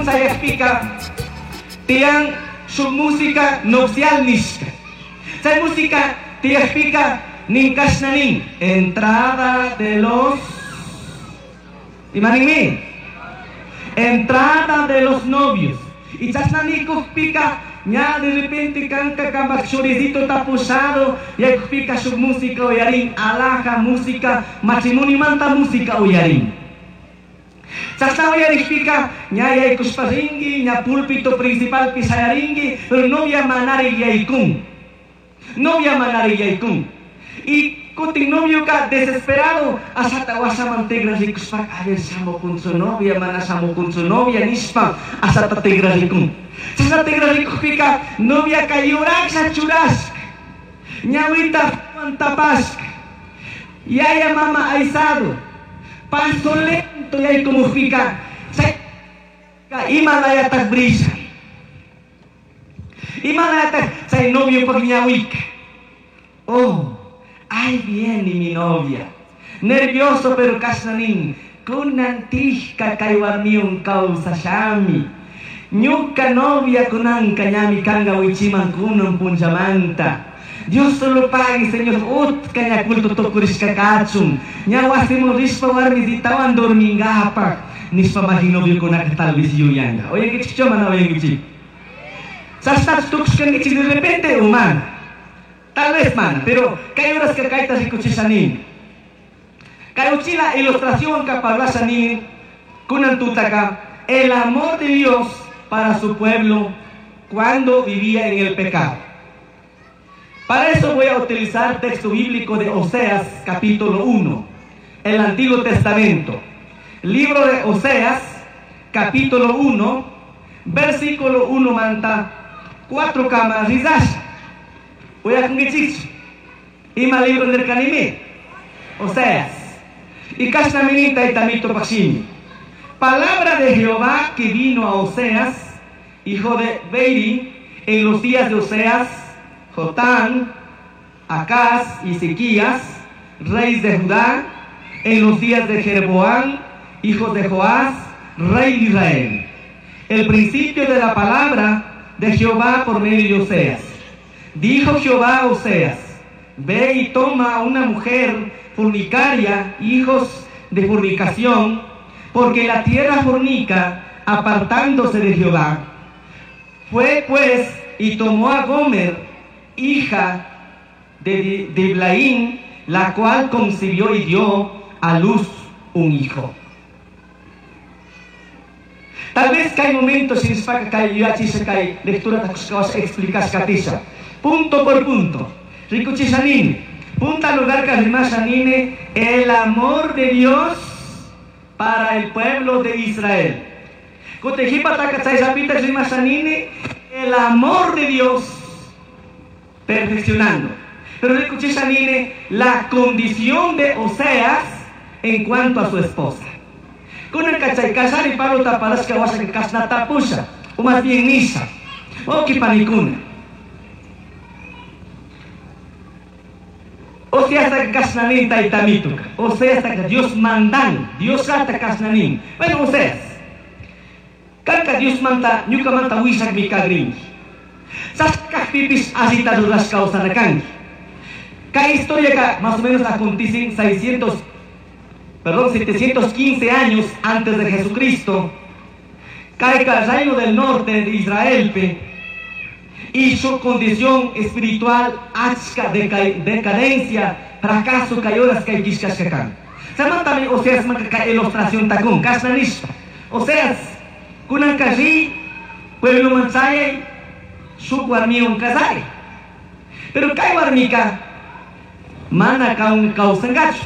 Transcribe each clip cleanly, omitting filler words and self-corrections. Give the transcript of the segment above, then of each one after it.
Sayakpika tiyan shuk música nupcial nishka. Chay música tiyakpika nin kashna nin entrada de los imaninmi entrada de los novios. Y chashna nikukpika ña de repente kanka kambak churisito tapusado yaykukpika shuk música uyarin, alhaja música, matrimonio música uyarin. Chashna uyarikpika ña yaykushpa rinki, ña púlpito principalpi shayarinki, pero novia manari yaykun. Novia manari yaykun. Y kutin novioka desesperado ashata washaman tigrarikushpa, a ver shamukunchu novia, mana shamukunchu novia nishpa ashata tigrarikun. Chashna tigrarikukpika noviaka yuraksha churashka, ñawita tapashka, yaya mama aysado, paso lento yaykumukpika chay ima layatak brilla. Ima layatak chay noviopak ñawika. Oh, ahí viene mi novia. Nervioso pero kashna nin. Kunan tishka kay warmiwan kawsashami. Ñuka novia kunanka ñami kanga wichiman kunan punchamanta. Dios solo pague, Señor, utka ña culto tukurishka kachun. Ña wasimun rishpa warmisitawan dormingapak. Nishpa maji novio kunaka tal vez yuyanga. Oyankichik mana oyankichik. Chashna tukushkankichik de repente humana. Tal vez mana, pero kay horas que kayta rikuchisha nin. Kay uchila ilustración ka parlasha nin kunan tutaka el amor de Dios para su pueblo cuando vivía en el pecado. Para eso voy a utilizar texto bíblico de Oseas, capítulo 1, el Antiguo Testamento. Libro de Oseas, capítulo 1, versículo 1 manta, 4 camas rizash. Voy a Ima libro del kanime. Oseas. Y kashna minita y tamito pashimi. Palabra de Jehová que vino a Oseas, hijo de Beiri, en los días de Oseas, Jotán, Acaz y Ezequías, reyes de Judá, en los días de Jeroboam, hijo de Joás, rey de Israel. El principio de la palabra de Jehová por medio de Oseas. Dijo Jehová a Oseas: ve y toma a una mujer fornicaria, hijos de fornicación, porque la tierra fornica, apartándose de Jehová. Fue pues y tomó a Gomer, hija de Diblaín, la cual concibió y dio a luz un hijo. Tal vez que hay momentos en que hay lectura explicas punto por punto. Rikuchishanine, punta lugar karimashanine, el amor de Dios para el pueblo de Israel. El amor de Dios perfeccionando. Pero rikuchishanine, la condición de Oseas en cuanto a su esposa. Con el cachay y Pablo taparasca washa kasna tapusha, o más bien nisa, o kipanikuna. O sea, hasta que kasnanin taitamituka. O sea, hasta que Dios mandan, Dios hasta kasnanin. Bueno, o sea, kanka Dios manda, ñuka manda wisak mi kagrin. Saskak pipis asita duras kausanakanki. Ka historia ka más o menos acontecen 715 años antes de Jesucristo. Cae el reino del norte de Israel pe, y su condición espiritual achka decadencia, fracaso cayoras kay kishkashkakan. Samantami Oseas manka ilustración takun, kasnanishpa. Oseas, kunan kashi, pueblo manchayay, shuk warmiwan kasari. Pero kay warmika, mana kaun kausangachu.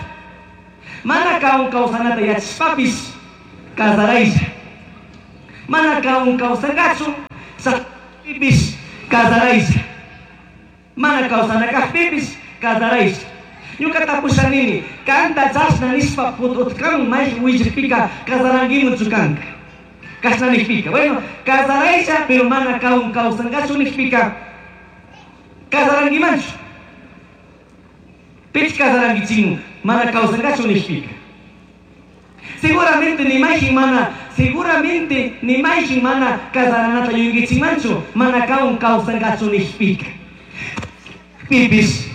Mana kaun kausanata yachpapis, kasaraisha. Mana kaun kausangachu, sa pipis, kasaraisha. Mana kausanakajpipis, kasaraisha. Ñuka tapushanini, kanta chashna nishpa pututkan may willakpika kasarankimu chukanka. Kashna nijpika. Bueno, kasaraisha, pero mana kaun kausangachu nijpika, kasarankimanchu. Pich kasarankichinu, mana kausangachu nijpika. Seguramente ni majin mana Seguramente ni mayjin mana casaranata yuyaychikmanchu mana kanwan kawsankachu nishpika. Pipis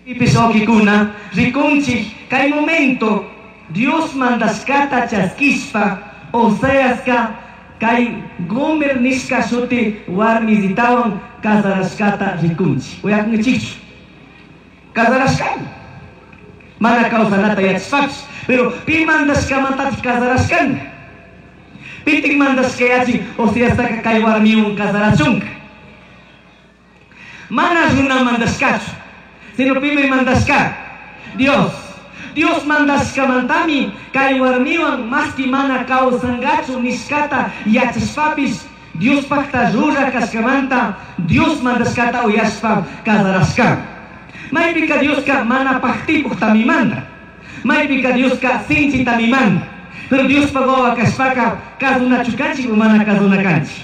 pipis wawkikuna rikunchik kay momento Dios mandashkata chaskishpa Oseaska kay Gomer nishka shuti warmisitawan casarashkata rikunchik. Uyakunkichikchu? Casarashkami. Mana kawsanata yachashpapish, pero pi mandashkamantatik casarashkanka? Pitik mandashka yachin Oseastaka kay warmiwan casarachunka? Mana runa mandashkachu, sino pimi mandashka? Dios. Dios mandashkamantami kay warmiwan maski mana kawsankachu nishkata yachashpapish Diospakta rura kashkamanta Dios mandashkata uyashpa casarashka. Maypika Dioska mana paktipuktami manda. Maypika Dioska sinchitami manda. Pero Diospa wawa kashpaka kasunachu kanchik o mana kasuna kanchik?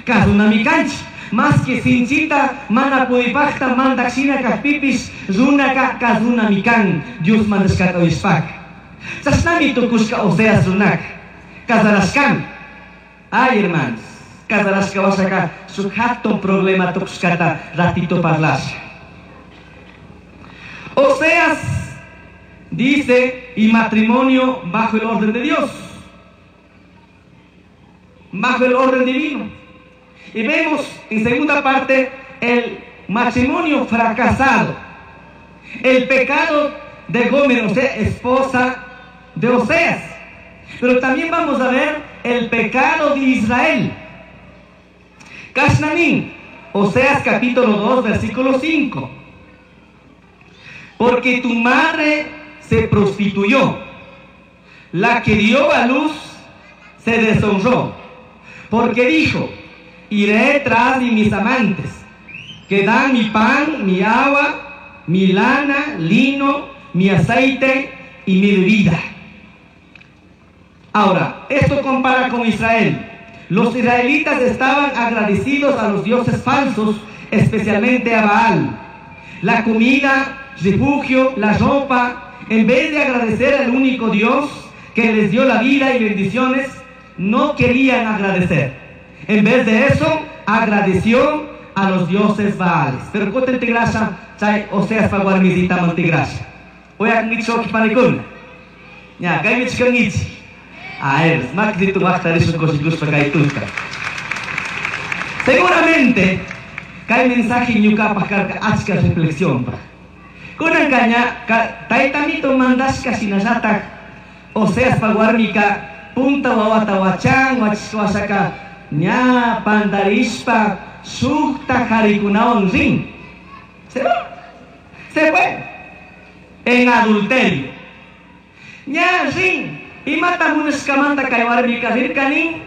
Kasunami kanchik. Maski sinchita mana pudipakta mandak shina kakpipish runaka kasunami kan Dios mandashkata uyashpaka. Chashnami tukushka Oseas runaka. Casarashkami. Ay, hermanos, casarashka washaka shuk hatun problema tukushkata ratito parlasha. Oseas dice, y matrimonio bajo el orden de Dios, bajo el orden divino. Y vemos en segunda parte el matrimonio fracasado, el pecado de Gomer, o sea, esposa de Oseas. Pero también vamos a ver el pecado de Israel. Kashnanin, Oseas capítulo 2, versículo 5. Porque tu madre se prostituyó, la que dio a luz se deshonró, porque dijo: iré tras de mis amantes, que dan mi pan, mi agua, mi lana, lino, mi aceite y mi bebida. Ahora, esto compara con Israel. Los israelitas estaban agradecidos a los dioses falsos, especialmente a Baal. La comida, refugio, la ropa, en vez de agradecer al único Dios que les dio la vida y bendiciones, no querían agradecer. En vez de eso, agradeció a los dioses Baales. Pero kutin tigrasha, chay Oseas pa warmisita man tigrasha. Uyakunkichik panikuna. Ña, kaymi chikankichik. A ver, makritu waqtarishun kushikushpa kay tuta. Seguramente, kay mensaje ñuqapaq karka achka reflexión pa. Kunanka ña, taytamito mandashka shinallatak Oseas pa warmika punta wawata wachan, wachishka washaka ña pandarishpa shukta harikunawan rin. Se va. Se fue. En adulterio. Ña rin. Imata munashkamanta kay warmika rirkanin,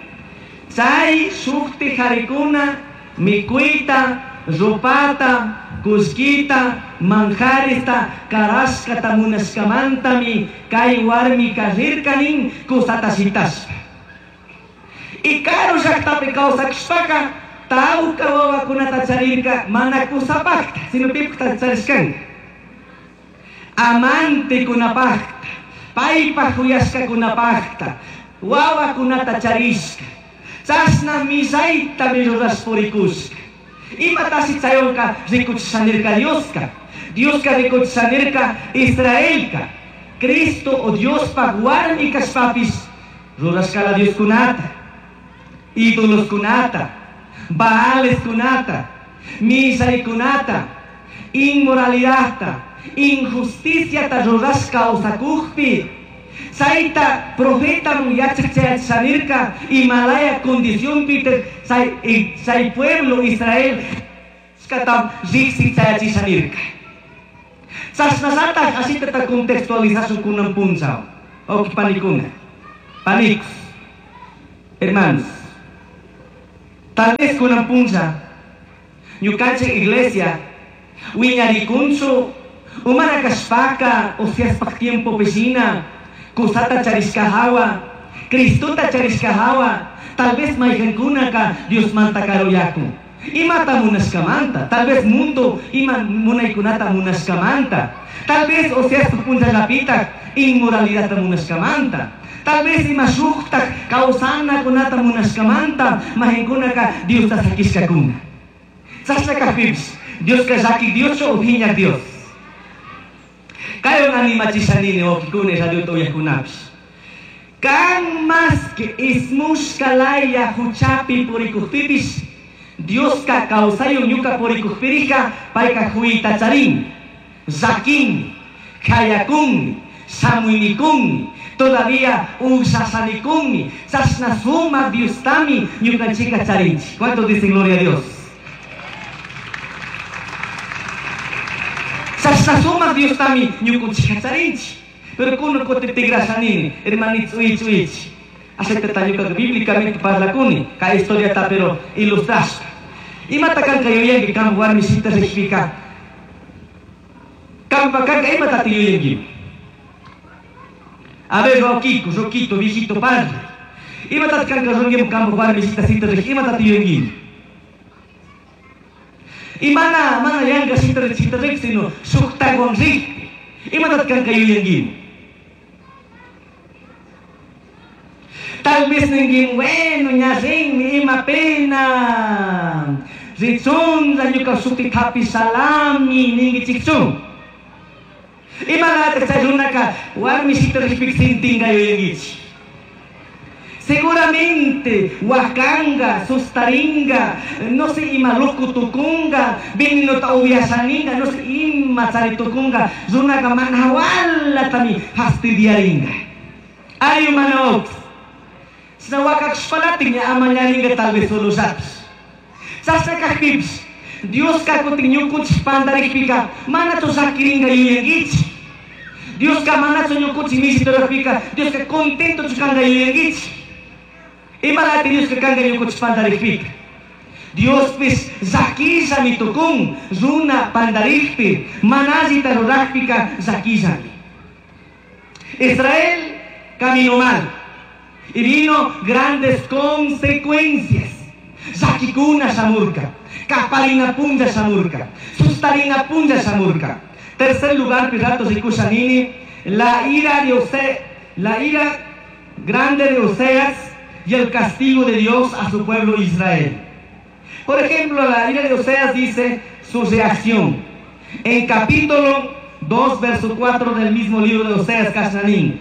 chay shukti harikuna mikuyta, rupata, kullkita, manjarista, karashkata munashkamantami kay warmika rirkanin kusata shitashpa. Y karu llaktapi kawsakushpaka tawka wawakunata charirka mana kusapakta, sino pipakta charishkanka. Amantekunapakta, paypaj uyashkakunapakta, wawakunata charishka. Chashna millaytami rurash purikushka. Imatashi chaywanka rikuchishanirka Dioska. Dioska rikuchishanirka Israelka. Cristo o Diospaj warmi kashpapish rurashkala Dioskunata, ídoloskunata, Baaleskunata, millaykunata, inmoralidadta, injusticiata rurashka kawsakukpi. Chayta profetaman yachachayachishanirka imalaya condicionpi chay pueblo Israel katam riqsi chayachishanirka. Chashnallataj ashitata contextualizashun kunan punchaw. Wawqi panikuna, panicos, hermanos. Tal vez kunan puncha ñukanchik iglesia wiñarikunchu umana kashpaka Oseaspaj tiempopi shina kusata charishka hawa, Cristota charishka hawa, tal vez mayqankunaka Diosmanta karuyakun. Imata munashkamanta, tal vez mundo ima munaykunata munashkamanta, tal vez Oseaspaj punchallapitaq inmoralidadta munashkamanta, Tal vez ima shujtaj causanakunata munashkamanta mahinkunaka Diosta sakishkakuna. Chashna kajpipish Dioska llaquij Dioschu o phiñaj Dios? Kaywan animachisha nini wawkikuna radiota uyajkunapish. Kan masqui ismushka laya huchapi purikujpipish Dioska kawsaywan ñuka purikujpirika payka huyta charin, llaquinmi, khayakunmi, shamuynikunmi, todavía ushashanikunmi, chashna sumak Diostami ñukanchika charinchik. ¿Cuántos dicen gloria a Dios? Chashna sumak Diostami ñukanchika charinchik. Pero kunan kutin tigrasha nini, hermanito, uich, uich. Aceitata ñukaqa bíblicamente parlakuni, kay historiata pero ilustrashpa. Imata kanka yuyanki kan warmisita rikpika? Kampa kanka imatata yuyanki? A ver, Roquito, Roquito, viejito, padre. Imatata kanka rungi kampa warmisita sita rik, imatata yuyanki? Y mana, mana yanka sita rik, sita rik, sino shuktawan rik. Imatata kanka yuyanki? Tal vez ninguin, bueno, ña rinmi, ima pena. Richunlla ñuka shuti hapi salami, ninguichikchun. Imanataq chay runaka warmisita rikpik sintinga yuyankichik. Seguramente wakanga, sustaringa, no sé ima loco tukunga, venenota ubiasaninga, no sé ima chari tukunga, runaka mana walatami fastidiaringa. Ay mana ox. Sina wakakshpalatin ña amañaringa tal vez solo saps. Sasna kajpipish, Dios kakutin ñukunchik pandarikpika, manachu sakiringa yuyankichik. Dios ka manachu ñukunchik misiturajpika, Dios ka contento kanga yuyankichik. Imalati Dios ka kanga ñukunchik pandarikpika. Dios pis llakishami tukun, runa pandarikpi, manallita rurajpika llakishami. Israel caminó mal y vino grandes consecuencias. Llakikuna shamurka, kaparina punlla shamurka, sustarina punlla shamurka. Tercer lugar, Pilatos y Kushanini, la ira de Ose, la ira grande de Oseas y el castigo de Dios a su pueblo Israel. Por ejemplo, la ira de Oseas dice su reacción. En capítulo 2, verso 4 del mismo libro de Oseas, Kashanín.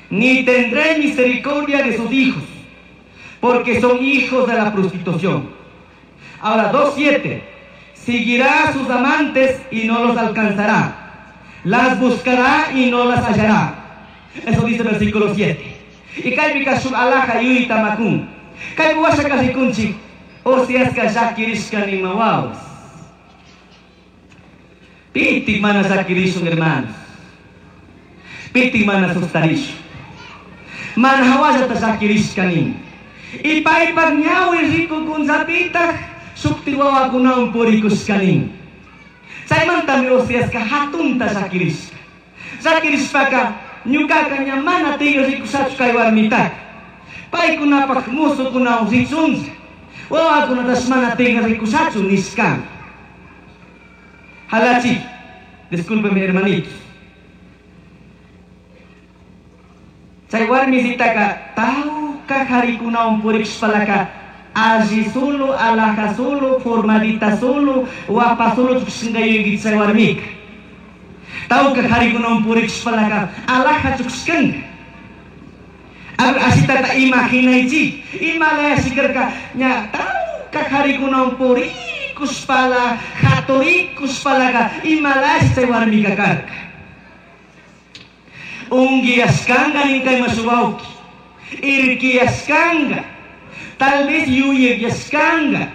Ni tendré misericordia de sus hijos, porque son hijos de la prostitución. Ahora, 2.7. Seguirá a sus amantes y no los alcanzará. Las buscará y no las hallará. Eso dice el versículo 7. Y kaypika shuk alaja yuyta makun. Kaypi washa rikunchik. Oseaska llakirishka nimawawas. Pitik mana llakirishun, hermanos. Pitik mana sustarishun. Mana hawallata llakirishka nin. Y paypak ñawi rikukunllapitaj shukti wawakunawan purikushka nin. Chaymantami Oseaska hatunta llakirishka. Llakirishpaka ñukaka ña mana tigre rikushachu kay warmitaka. Paykunapak musukunawan richunlla. Wawakunatash mana tigre rikushachu nishkami. Halachi, discúlpeme hermanitos. Chay warmisitaka tawka harikunawan purikushpalaka alli solo, alaja solo, formadita solo, guapa solo chukshinga yuyayki chay warmika. Tawka harikunawan purikushpalaka alaja chukshinga. Asitata imaginaychik, imalaya shikarka ña tawka harikunawan purikushpala, haturikushpalaka imalaya chay warmika karka. Unguiascanga ninkay masuwawki, irquiyascanga, tal vez yuyayascanga.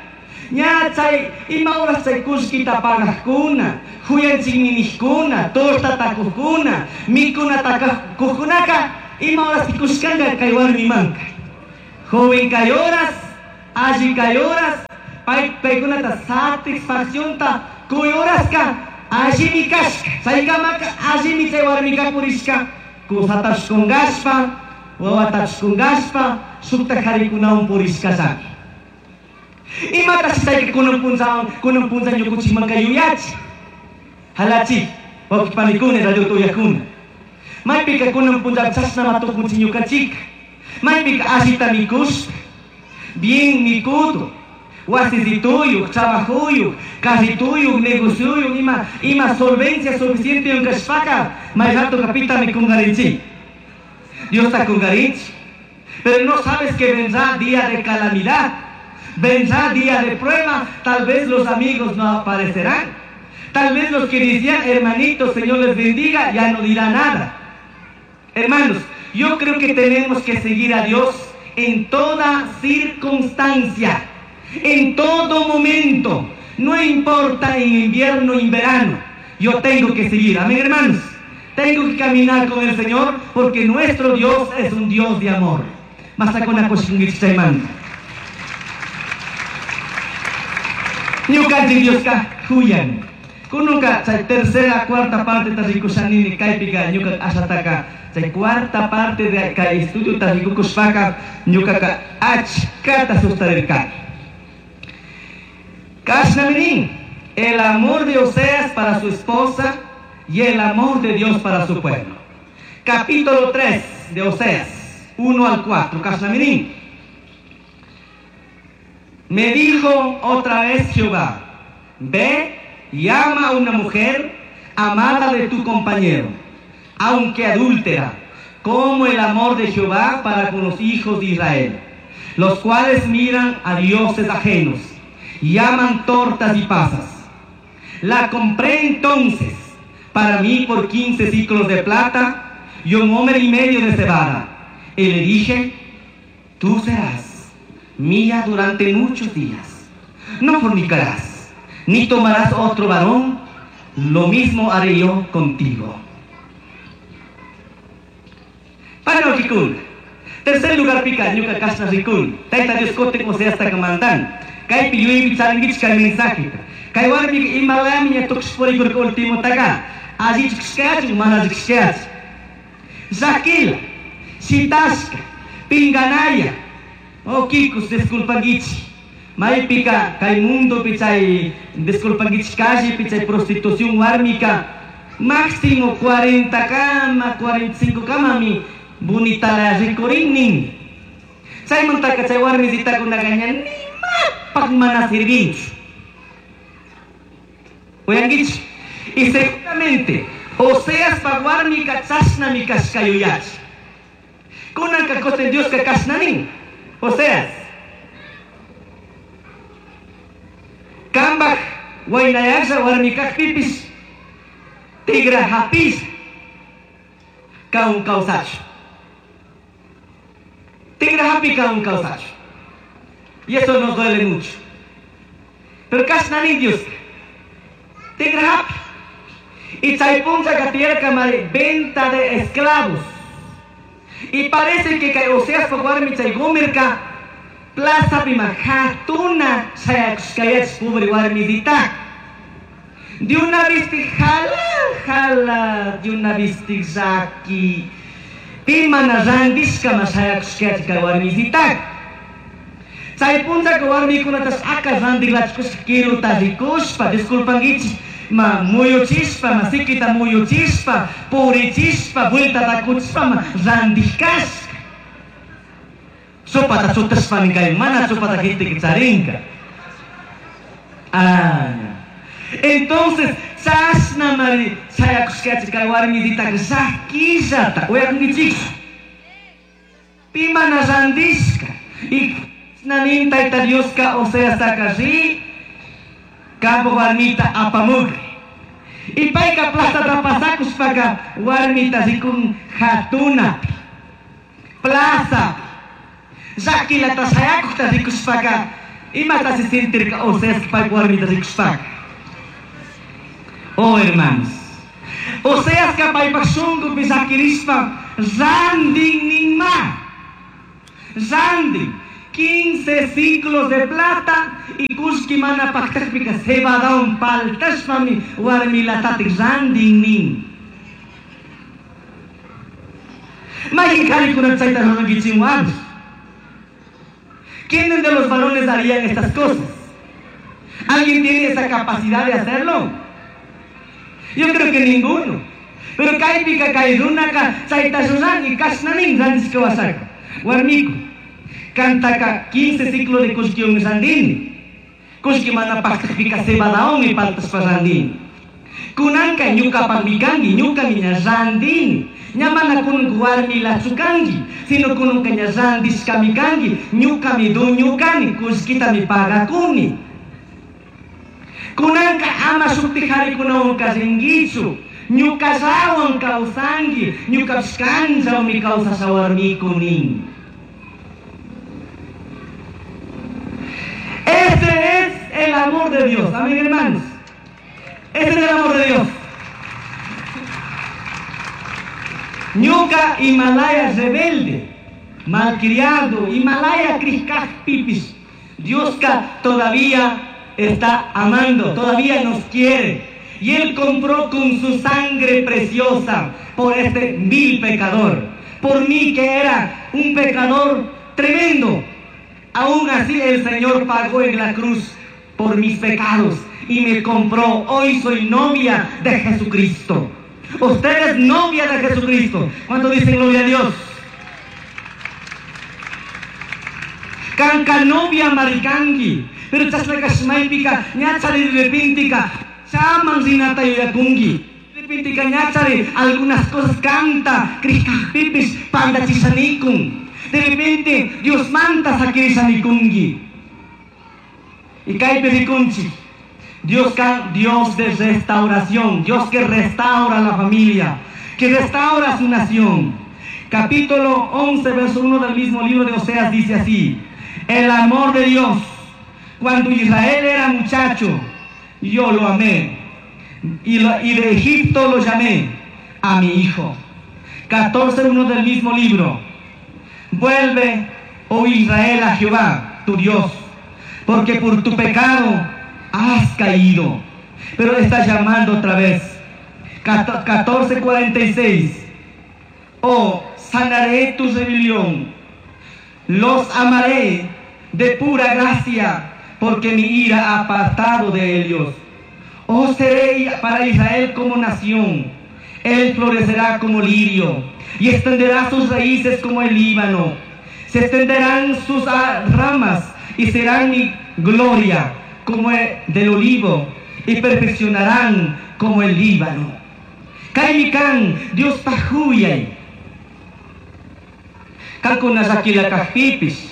Ña chay ima horas chay kullkita pagajkuna, huyanchikninijkuna, torta takujkuna, mikuna takujkunaka, ima horas kushkanga kay warmimanka. Joven kay horas, alli kay horas, paykunata satisfaccionta kuy horaska, allimi kashka, chaykamaka allimi chay warmika purishka, kusatash kungashpa, wawatash kungashpa, shukta harikunawan purishkallami. Imatash chayka kunan punllawan, kunan punlla ñukunchikmanka yuyachi. Halachi, wawqipanikuna, radio tuyakuna. Maypika kunan punlla chashnama tukunchik ñukanchik. Maypika allita mikushpa, bien mikudo, wasisituyuq, trabajuyuq, carrituyuq, negocioyuq, ima solvencia suficiente kashpaka, may ratoka pitami kungarinchik. Diosta kungarinchik. Pero no sabes que vendrá día de calamidad, vendrá día de prueba, tal vez los amigos no aparecerán. Tal vez los que decían, hermanitos, Señor les bendiga, ya no dirá nada. Hermanos, yo creo que tenemos que seguir a Dios en toda circunstancia, en todo momento. No importa en invierno o en verano, yo tengo que seguir. Amén, hermanos. Tengo que caminar con el Señor porque nuestro Dios es un Dios de amor. Ñukanchik Dioska huyan. Kununka chay tercera, cuarta parte ta rikushanini kaypika ñuka ashataka. Chay cuarta parte de kay estudio ta rikukushpaka ñukaka achkata sustarirkani. Kashnaminin, el amor de Oseas para su esposa y el amor de Dios para su pueblo. Capítulo 3 de Oseas, 1 al 4. Kashnaminin. Me dijo otra vez Jehová, ve y ama a una mujer amada de tu compañero, aunque adúltera, como el amor de Jehová para con los hijos de Israel, los cuales miran a dioses ajenos y aman tortas y pasas. La compré entonces para mí por 15 siclos de plata y un homer y medio de cebada. Y le dije, tú serás mía durante muchos días. No fornicarás, ni tomarás otro varón, lo mismo haré yo contigo. Para rikun. Tercer lugar pica, ñuka kashna rikun. Tayta Dios kutin Oseasta kamandan. Kaypi yuyaypi charinkichik kay mensajeta. Kay warmika imalami ña tukush purikurka último taka. Allichu kashkachu, mana allichu kashkachu. Llakila, shitashka, pinganaya. Oh, kikus, disculpankichik. Maypika kay mundopi chay disculpankichik callepi chay prostitución warmika máximo 40 kama, 45 kamami bonita la rikurin. Chaymantaka chay warmisitakunaka ña nimapaq mana sirvinchu. Uyankichik. Y seguramente Oseaspa warmika chashnami kashka yuyachi. Kunanka kutin Dioska kashna nin. Oseas. Kambaj waynayasha warmikaqpipis tigra hapis kaun kawsachu. Tigra hapi kaun kawsachu. Y eso nos duele mucho. Pero kashna nin Dioska. Tigra hapi. Y chay punchaka tiyarka mari venta de esclavos. Y parece que kay Oseaspa warmi chay Gomerka plaza pima hatuna shayakushkayach pobre warmisita. De una vez te jala, jala, de una vez te llaki. Pimana randishka ma shayakushkayach kay warmisita. Chay punchaka warmikunatas aka randiklachkushka kiruta rikushpa, disculpankichik. Ma muyuchispa, ma sikita muyuchispa, purichispa, vuelta takuchispa, ma randikashka. Chupata chutashpa ninkay, mana chupata gente que charinka. Ah, entonces, chashna mari shayakushkachi kay warmisitaka llakillata, uyakunkichik. Pimana randishka. Y nanin tayta Dioska Oseastaka ri, kampo warmita apamugri. Y payka plazata pasakushpaka warmita rikun hatunapi, plazapi. Llakilata shayakujta rikushpaka, imata se sentirka Oseas paypa warmita rikushpaka. Oh, hermanos, Oseaska paypak shunkupi llakirishpa randin ninma. Randin 15 ciclos de plata y kushki mana paktakpika cebadaun paltashpami warmilatatik randin nin. Mayqin qharikuna chayta rurankichikwan. ¿Quiénes de los varones harían estas cosas? ¿Alguien tiene esa capacidad de hacerlo? Yo creo que ninguno. Pero kaypika kay runaka chayta ruran y kashna nin randishka wasaka. Warmiku, kantaka 15 siclo de kullkiwan randini. Kullki mana paktakpika cebadawanmi paltashpa randini. Kunanka ñukapakmi kanki, ñukami ña randini. Ña mana kunanka warmilachu kanki, sino kunanka ña randishkami kanki, ñukami dueño kani, kullkitami pagakuni. Kunanka ama shukti harikunawanka rinkichu, ñukallawan kawsanki, ñukapish kanllawmi kawsasha warmiku nin. Este es el amor de Dios. Amén, hermanos. Este es el amor de Dios. Ñuka Himalaya rebelde, malcriado, Himalaya pipis. Dioska todavía está amando, todavía nos quiere. Y Él compró con su sangre preciosa por este vil pecador. Por mí que era un pecador tremendo. Aún así el Señor pagó en la cruz por mis pecados y me compró. Hoy soy novia de Jesucristo. Usted es novia de Jesucristo. ¿Cuánto dicen gloria a Dios? Kanka novia marikangi. Pero chasna kashmaypika ñachari repintika chaman rinata yuyakunki. Repintika ñachari algunas cosas canta pipis pandachisanikun. De repente Dios manta sakirisanikунki. Y kaypi rikunchik. Dios, Dios de restauración, Dios que restaura la familia, que restaura su nación. Capítulo 11, verso 1 del mismo libro de Oseas dice así: el amor de Dios, cuando Israel era muchacho, yo lo amé, y de Egipto lo llamé a mi hijo. 14, 1 del mismo libro. Vuelve, oh Israel, a Jehová, tu Dios, porque por tu pecado has caído. Pero está llamando otra vez. 14:46. Oh, sanaré tu rebelión, los amaré de pura gracia, porque mi ira ha apartado de ellos. Oh, seré para Israel como nación. Él florecerá como lirio y extenderá sus raíces como el Líbano. Se extenderán sus ramas y serán mi gloria como el del olivo, y perfeccionarán como el Líbano. Kaymi kan Dios pajuyay. Kankuna llakila kajpipis,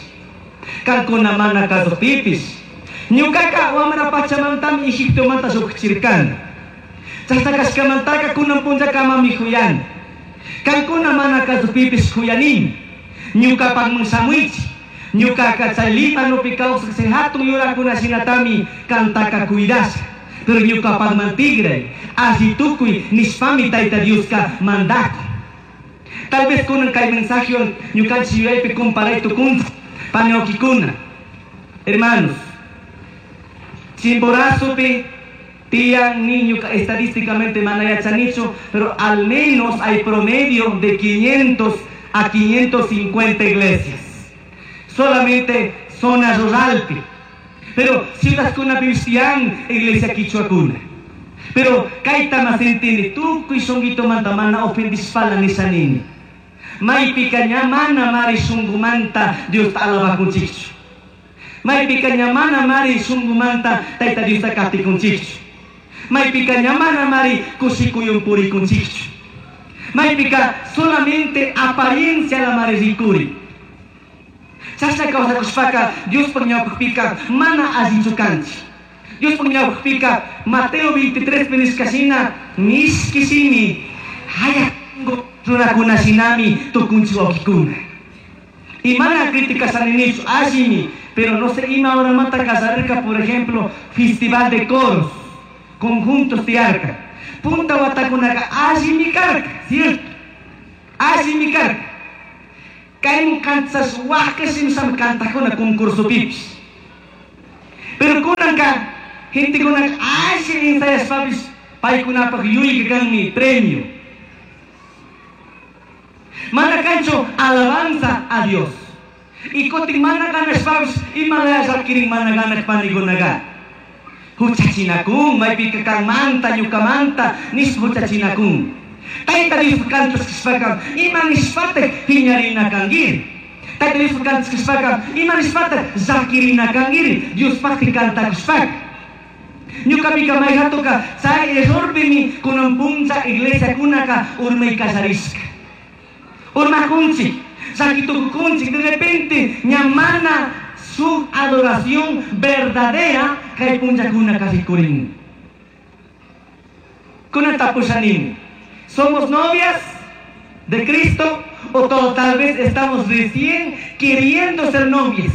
kankuna mana kasukpipis. Ñukaka wamra pachamantami Egiptomanta llujchirkani. Chashna kashkamantaka kunan punllakamami juyani. Kankuna mana kasukpipis juyanimi. Ñukapakman shamuychik. Ñukaka chay Líbanopi kawsaj chay hatun yurakuna shinatami kantaka cuidasha. Pero ñukapakman tigray, alli tukuy nishpami Tayta Dioska mandakun. Tal vez kunan kay mensajewan ñukanchik yuyaypi comparay tukunchik paniwakikuna. Hermanos, Chimborazopi tiyan niño estadísticamente mana yachanichu, pero al menos hay promedio de 500 a 550 iglesias. Solamente zona ruralpi. Pero ciudadkunapipish tiyan iglesia quichuakuna. Pero kayta mas entende tukuy shunqitumanta mana ofendishpala nishanini. Maypika ña mana mari shunqumanta Diosta alabakunchikchu. Maypika ña mana mari shunqumanta Tayta Diosta katikunchikchu. Maypika ña mana mari kushikuywan purikunchikchu. Maypika solamente apariencia la mari rikuri. Chashna kawsakushpaka Diospaj ñawpajpika mana allichu kanchik. Diospaj ñawpajpika Mateo 23 nishka shina mishki shimi haya runakuna shinami tukunchik wawkikuna. Y mana criticashaninichu allimi, pero no sé ima horamanta kallarerka, por ejemplo, festival de coros, conjuntos tiyarka. Punta watakunaka allimi karka, cierto? Allimi karka. Kaymun kanchas waqashim kantakuna concursopipish. Pero kunanka gentekunaka alli ensayashpapish paykunapaj yuyayka kanmi premio. Mana kanchu alabanza a Dios. Y kutin mana ganashpapish imalaya llakirin mana ganak panikunaga. Huchachinakun, maypika kanmanta, ñukamanta, nishpa huchachinakun. Tayta Diospaj cantashcashpaca, ima nishpataj piñarina canguiri? Tayta Diospaj cantashcashpaca, ima nishpataj llaquirina canguiri? Diospajpi cantacushpaca. Ñucapica maijatuca chay errorpimi cunan punlla iglesiacunaca urmai callarishca. Urmacunchij, llaqui tucucunchij, de repente ña mana shuj adoración verdadera cai punllacunaca ricurin. Cunan tapushanimi, ¿somos novias de Cristo o todo, tal vez estamos recién queriendo ser novias?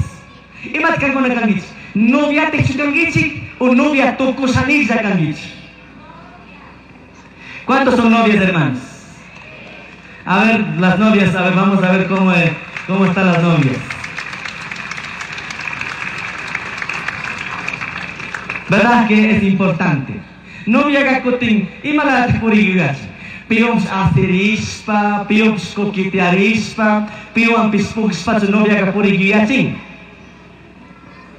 Imata cancuna canguichij? Noviatajchu canguichij o novia tucushanijlla canguichij? ¿Cuántos son novias, hermanos? A ver, las novias, a ver, vamos a ver cómo están las novias. ¿Verdad que es importante? Novia cutin, imalataj puriyuyachi. Piwanpish asirishpa, piwanpish coquetearishpa, piwanpish pugshpachu noviaca puriyuyachin.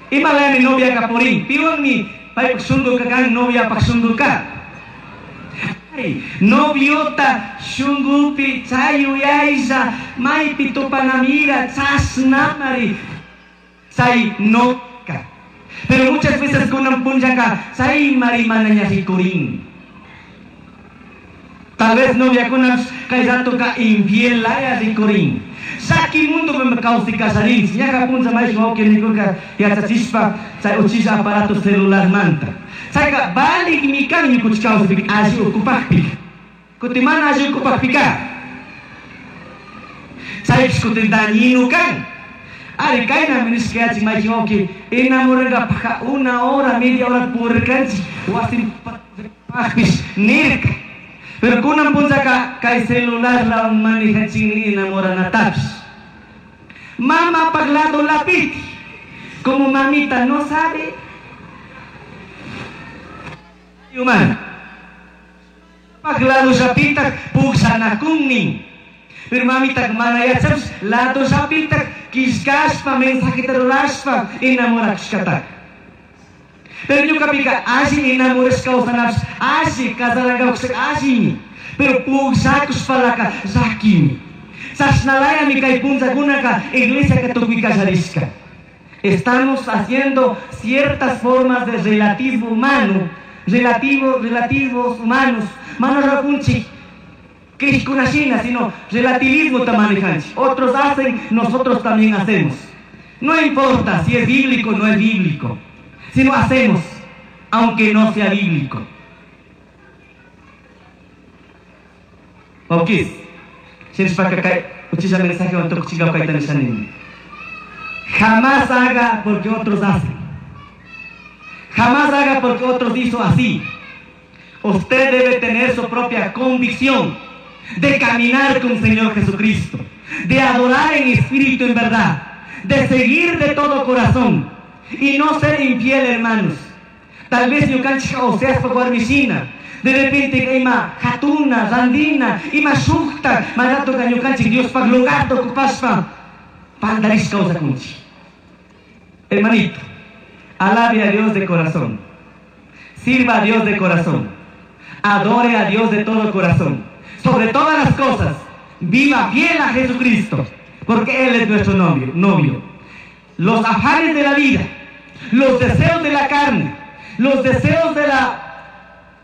Imalayami noviaca purin, piwanmi paypaj shunguka kan, noviapaj shunguka. Ay, noviota shungupi chay yuyaylla maypi tupanamira chashnamari chay noka. Pero muchas veces kunan punllaka chaymari mana ña rikurin. Tal vez noviakunapish kay ratoka infiel laya rikurin. Llaki mundopi kawsay kallarinchik. Ñaqa punlla mayshi wawqi nikurka yachachishpa chay uchilla aparato celularmanta. Chayka valigmi kan ñukuchik kawsaypika alli ukupakpika. Kutin mana alli ukupakpika. Chaypish kutin dañino kan. Ari kaynami nishka yachik mayshi wawqi enamorangapajka una hora, media hora purirkanchik wasinpajpish nirka. Pero kunan punllaka kay celularlawan manejachikni enamoranatapish. Mamapaj lado lapiti, como mamita no sabe, humana. Paj lado llapitaj pugllanakunnin. Pero mamita mana yachapish lado llapitaj killkashpa mensajeta rurashpa enamorakushkataka. Pero ñukapika alli enamorashka kawsanapish, alli casarangapaj allimi. Pero pugllakushpalaka llakimi. Chashnalayami kay punllakunaka iglesiaka tukuy kallarishka. Estamos haciendo ciertas formas de relativismo humano, relativos humanos. Mana rapunchik, crishkunashina, sino relativismo ta manejanchik. Otros hacen, nosotros también hacemos. No importa si es bíblico o no es bíblico, sino hacemos, aunque no sea bíblico. Wawkis, shinashpaka kay uchilla mensajewan tukuchinkaw kayta nishanini. Jamás haga porque otros hacen. Jamás haga porque otros hizo así. Usted debe tener su propia convicción de caminar con el Señor Jesucristo, de adorar en espíritu y en verdad, de seguir de todo corazón y no ser infiel, hermanos. Tal vez ñukanchik Oseaspa warmishina, de repente ima hatuna, randina, ima shukta, manatoka ñukanchik Diospaj lugarta ocupashpa pandarish kawsakunchik. Hermanito, alabe a Dios de corazón, sirva a Dios de corazón, adore a Dios de todo corazón. Sobre todas las cosas, viva fiel a Jesucristo, porque Él es nuestro novio. Los afanes de la vida, los deseos de la carne, los deseos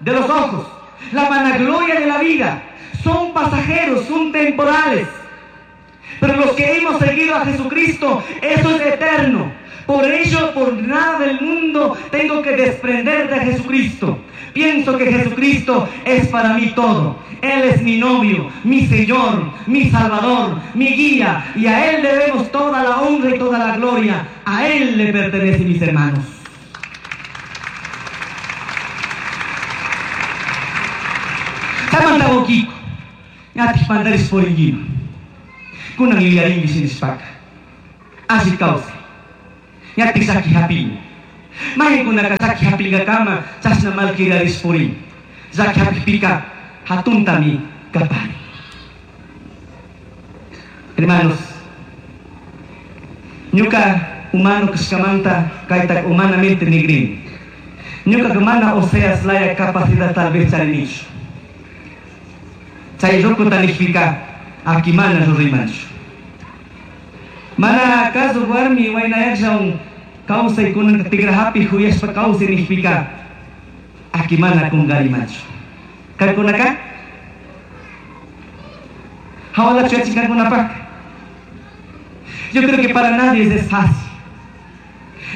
de los ojos, la vanagloria de la vida, son pasajeros, son temporales. Pero los que hemos seguido a Jesucristo, eso es eterno. Por ello, por nada del mundo, tengo que desprender de Jesucristo. Pienso que Jesucristo es para mí todo. Él es mi novio, mi Señor, mi Salvador, mi guía. Y a Él debemos toda la honra y toda la gloria. A Él le pertenece, mis hermanos. Chamanta wawkiko, ñatik pandaris puringuima. Kunan yuyarinki shinishpaka. Alli kawsay. Ñatik llaki hapin. Maykunaka llaki hapingakama chashna malquiraris purin. Llaki hapikpika hatuntami kapari. Hermanos, ñuka humano kashkamanta kayta humanamente nigrini. Ñuka mana Oseas laya capacidad tal vez charinichu. Chay rukuta nijpika aki mana ruraymanchu. Mana kazu warmi waynayaqllawan kawsaykunanka tikrahapi huyashpa kawsay nijpika aki mana kunkarimanchu. Kankunaka? Hawalachu yachin kankunapaq? Yo creo que para nadie es fácil.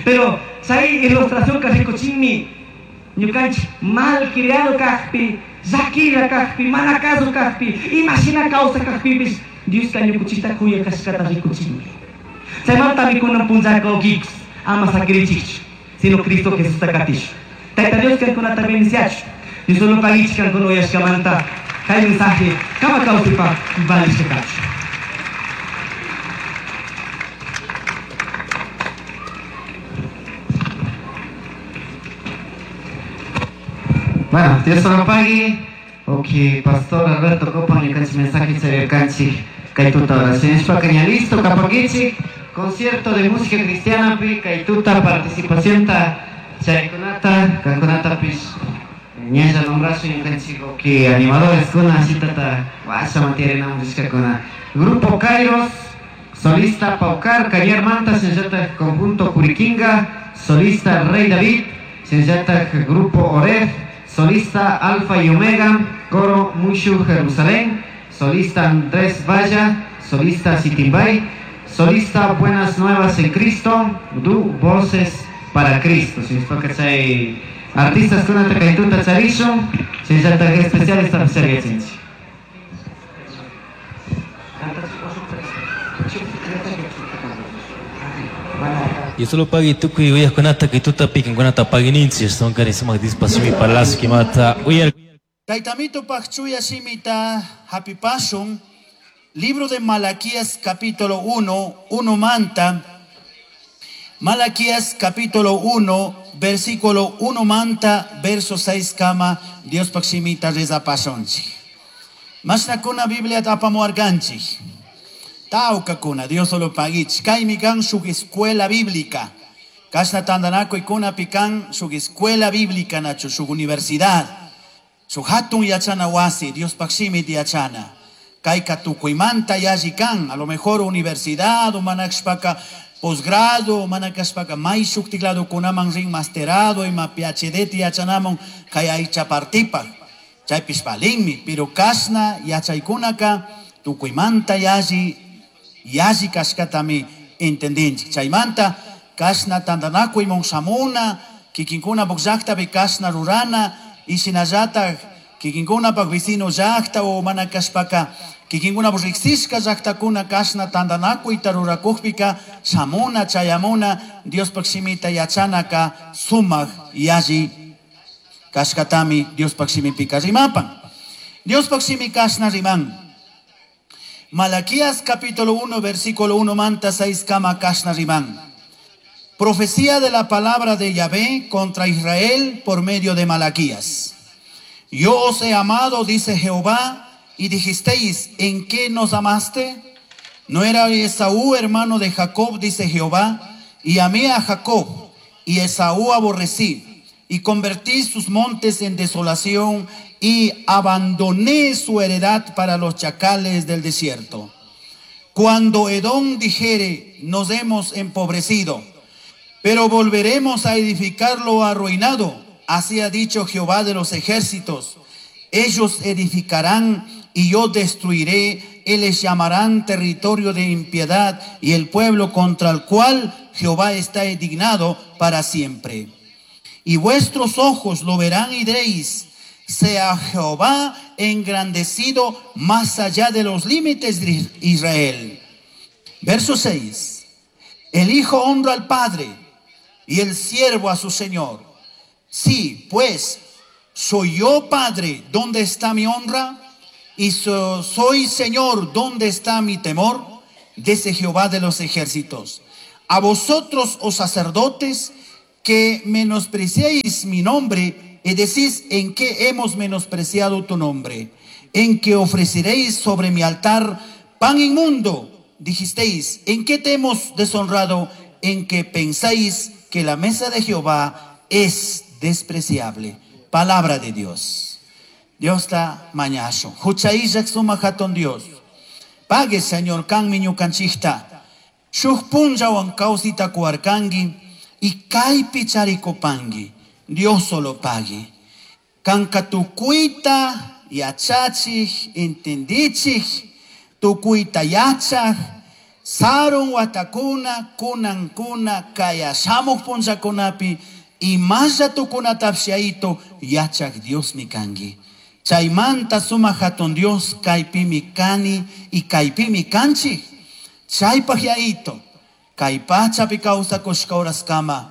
Pero chay ilustración ka rikuchinmi ñukanchik mal criado kajpi, llaquilla kajpi, mana kazu kajpi, imashina kawsa kajpipis Dioska ñukuchikta kuya kashkata rikuchinmi. Chaymantami kunan punllaka ukikus ama sakirichikchu, sino Cristo Jesusta katishu. Tayta Dios kankunata bendiciachu. Dios solo pagichik kankuna uyashkamanta kay mensaje kama kawsaypaq valishka kachu. Bueno, Dios solo pague. Ok, Pastor Alberto Copan, ñukanchik mensaje charirkanchik kay tuta oraciones ña listo kapankichik concierto de música cristiana pi kay tuta participación ta chaykunata kankunatapish ñalla nombrazo ñukanchik ok animadores kuna shitata washa mantiene rishkakuna Grupo Kairos, solista Paucar, Cañar Manta, shinallata conjunto Curiquinga, solista Rey David, shinallata Grupo Oref, solista Alfa y Omega, coro Mushu Jerusalén, solista Andrés Valla, solista Sitimbay, solista Buenas Nuevas en Cristo, Du Voces para Cristo. Chay artistas kunata kay tuta charishun, shinallata especial esta yachinchik. Y solo pagui tukuy uyaqkunata kay tutapi kankunata pagininchik son kari sumaq dispasimi palacio kimata uyar. Taytamito paqchuya shimita hapipashun, libro de Malaquías capítulo 1, 1 manta. Malaquías capítulo 1, versículo 1 manta, verso 6 kama, Dios paqshimita rezapashunchik. Mashnakuna Biblia apamuarkanchik. Tawkakuna, Dios solo pagichik. Kaymi kan shuk escuela bíblica. Kashna tandanakuy kunapi kan shuk escuela bíblica nachu, shuk universidad. Shuk hatun yachana wasi, Dios paqshimita yachana. Kayka tukuymanta yalli kan, a lo mejor universidad, o manakshpaka posgrado, manakashpaka may shuktiklado kunaman rin masterado, ima PhD yachanamun kay aycha partipaq. Chaypish valinmi, pero kashna yachaykunaka tukuymanta yalli, yalli kashkatami entendinchik. Chaymanta kashna tantanakuymun shamuna, kikinkunapaq llaqtapi kashna rurana, y shinallatak kikinkunapaq vecino llaqta o mana kashpaka kikinkunapaq riqsishka llaqtakuna kashna tantanakuyta rurakukpika shamuna chayamuna Diospaq shimita yachanaka sumaq yalli kashkatami Diospaq shimipika rimapan. Diospaq shimi kashna riman. Malaquías capítulo 1 versículo 1 manta 6 kama kashna riman. Profecía de la palabra de Yahvé contra Israel por medio de Malaquías. Yo os he amado, dice Jehová, y dijisteis, ¿en qué nos amaste? ¿No era Esaú hermano de Jacob, dice Jehová? Y amé a Jacob, y Esaú aborrecí, y convertí sus montes en desolación, y abandoné su heredad para los chacales del desierto. Cuando Edom dijere, nos hemos empobrecido, pero volveremos a edificar lo arruinado, así ha dicho Jehová de los ejércitos. Ellos edificarán y yo destruiré, y les llamarán territorio de impiedad y el pueblo contra el cual Jehová está indignado para siempre. Y vuestros ojos lo verán y diréis, sea Jehová engrandecido más allá de los límites de Israel. Verso 6. El hijo honra al padre y el siervo a su señor. Sí, pues, soy yo padre, ¿dónde está mi honra? Y soy señor, ¿dónde está mi temor? Dice Jehová de los ejércitos. A vosotros, oh sacerdotes, que menospreciéis mi nombre y decís, ¿en qué hemos menospreciado tu nombre? En que ofreceréis sobre mi altar pan inmundo. Dijisteis, ¿en qué te hemos deshonrado? En que pensáis que la mesa de Jehová es despreciable. Palabra de Dios. Diosta mañashun. Hucha illak sumak hatun Dios. Pague, Señor, kanmi ñukanchikta. Shuk punllawan kawsita kuwarkanki y kaypi charikupanki. Dios solo pague. Kanka tukuyta yachachik, entendichik, tukuyta yachak, sarun watakuna, kunankuna, kaya shamuq punllakunapi, imalla tukunatapish yayito yachak Diosmi kanki. Chaymanta sumak hatun Dios kaypimi kani y kaypimi kanchik. Chaypaq yayito, kay pachapi kawsakushka horaskama,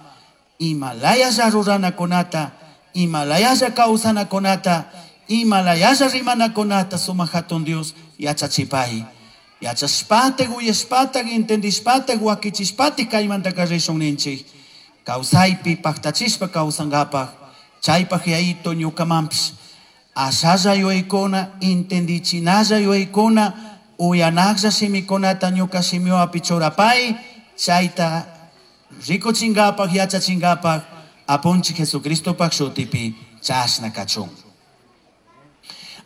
imalayalla ruranakunata, imalayalla kawsanakunata, imalayalla rimanakunata sumak hatun Dios yachachipay. Yachashpatik, uyashpatik, entendishpatik, wakichishpatik kaymantaka rishun ninchik. Kawsaypi paktachishpa kawsankapaq, chaypaq yayito ñukamanpish ashalla yuyaykuna, entendichinalla yuyaykuna, uyanaklla shimikunata ñuka shimiwapi churapay, chayta rikuchinkapaq, yachachinkapak, apunchik Jesucristopak shutipi chashna kachun.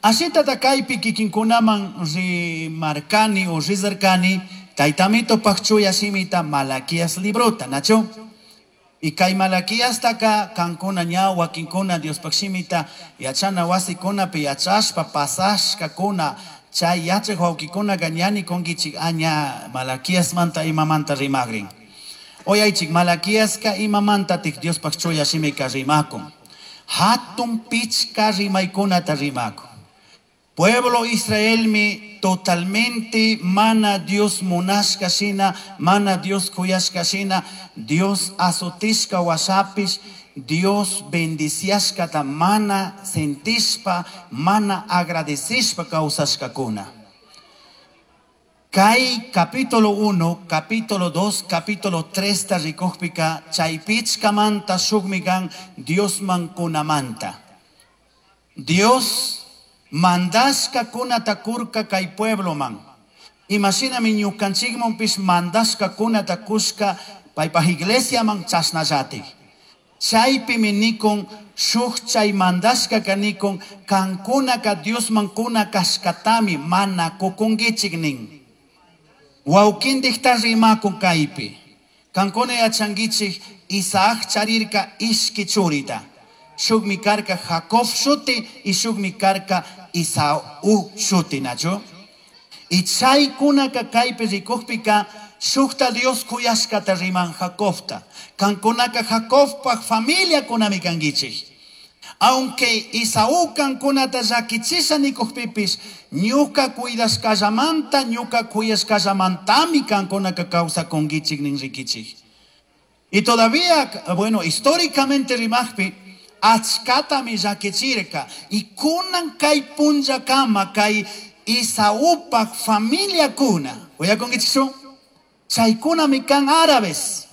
Ashitata kaypi kikinkunaman rimarkani o rizarkani, taytamitopak chuya shimita Malaquías librota, nacho? Y kay Malaquíastaka kankuna ña wakinkuna Diospaq shimita yachana wasikunapi yachashpa pasashkakuna chay yachak wawkikunaka ña nikunkichik aña Malaquíasmanta imamanta rimagrin. Uyaychik Malaquíaska imamantatik Diospaq chuya shimika rimakun. Hatun pichka rimaykunata rimakun. Pueblo Israelmi totalmente mana Dios munashka shina, mana Dios kuyashka shina, Dios azotishka washapish, Dios bendiciashkata mana sentishpa, mana agradecishpa kawsashkakuna. Kay capítulo 1, capítulo 2, capítulo 3 ta rikukpika, chay pichkamanta shukmi kan Diosman kunamanta. Dios mandashka kunata kurka kay pueblo man. Imashinami ñukanchikmanpish mandashka kunata kushka paypaj iglesia man chashnallatik. Chaypimi nikun shuk chay mandashkaka nikun kankunaka Diosman kuna kashkatami mana kukunkichik nin. Wawkintikta rimakun kaypi. Kankuna yachankichik Isaac charirka ishki churita. Shukmi karka Jacob shuti y shukmi karka Isaú shuti, nachu? Y chaykunaka kaypi rikukpika shukta Dios kuyashkata riman Jacobta. Kankunaka Jacobpaj familia kunami kankichik. Aunque Isaú kankunata llakichisha nikukpipis, ñuka cuidashkallamanta, ñuka kuyashkallamantami kankunaka kawsakunkichik nin rikichik. Y todavía, bueno, históricamente rimajpi, achkatami llakichirka. Y kunan kay punllakama kay Isaúpaj familia kuna. Uyakunkichikchu? Chaykunami kan árabes.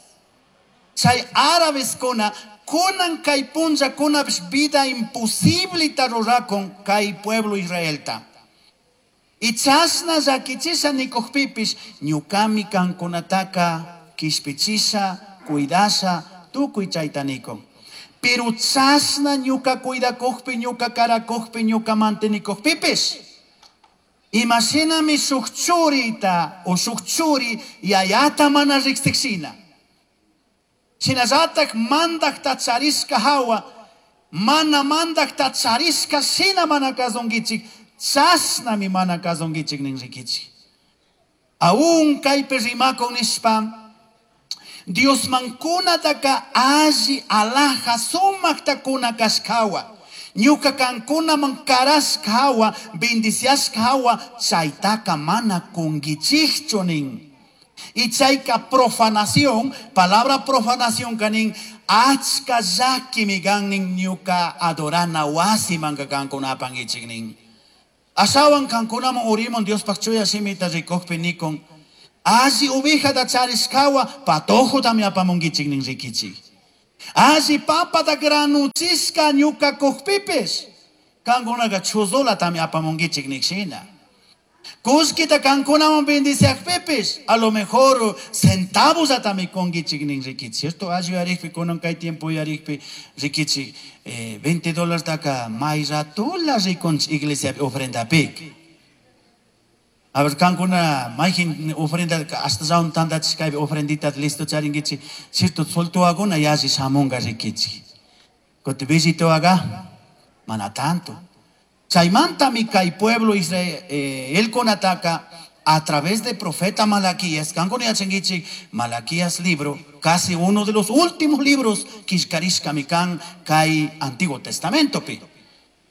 Chay árabes kuna, kunan kay punllakunapish vida imposiblita rurakun kay pueblo Israelta. Y chashna llakichisha nikukpipish, ñukami kankunataka kishpichisha, cuidasha, tukuy chayta nikun. Pero chashna ñuka cuidakukpi, ñuka karakukpi, ñuka mantenikukpipish. Imashinami shuk churita o shuk churi yayata mana riqsikshina. Shinallatak mandakta charishka hawa, mana mandakta charishka shina mana kasunkichik, chashnami mana kasunkichik nin rikichik. Aún kaypi rimakun nishpa, Diosman kunataka alli alhaja sumakta kuna kashkawa. Ñuka kankunaman karashka hawa, bendiciashka hawa, chaytaka mana kunkichikchu nin. Y chayka profanación, palabra profanación kanin, achka llakimi kan nin ñuka adorana wasimanka kankunapankichik nin. Ashawan kankunaman urimun Diospaj chuya shimita rikukpi nikun, alli ovejata charishkawa patojotami apamunkichik nin rikichik. Alli papata granuchishka ñuka kukpipish, kankunaka chuzulatami apamunkichik nikshina. Kullkita kankunawan bendiciakpipis, a lo mejor centavos atami kunkichik nin rikichik, ¿cierto? Alli uyarikpi, kunan kay tiempo uyarikpi, rikichik, 20 dólartaka may ratula rikunchik iglesiapi ofrendapik. A ver, kankuna mayjin ofrenda hasta zaun tandachishkaypi ofrendita listo charinkichik, ¿cierto? Soltuwakuna yalli shamunga rikichik. Kuti billituwaga, mana tanto. Chaymantami kay pueblo Israel, elkunataka a través de profeta Malaquías, kankuna yachankichik, Malaquías libro, casi uno de los últimos libros killkarishkami kan kay Antiguo Testamentopi.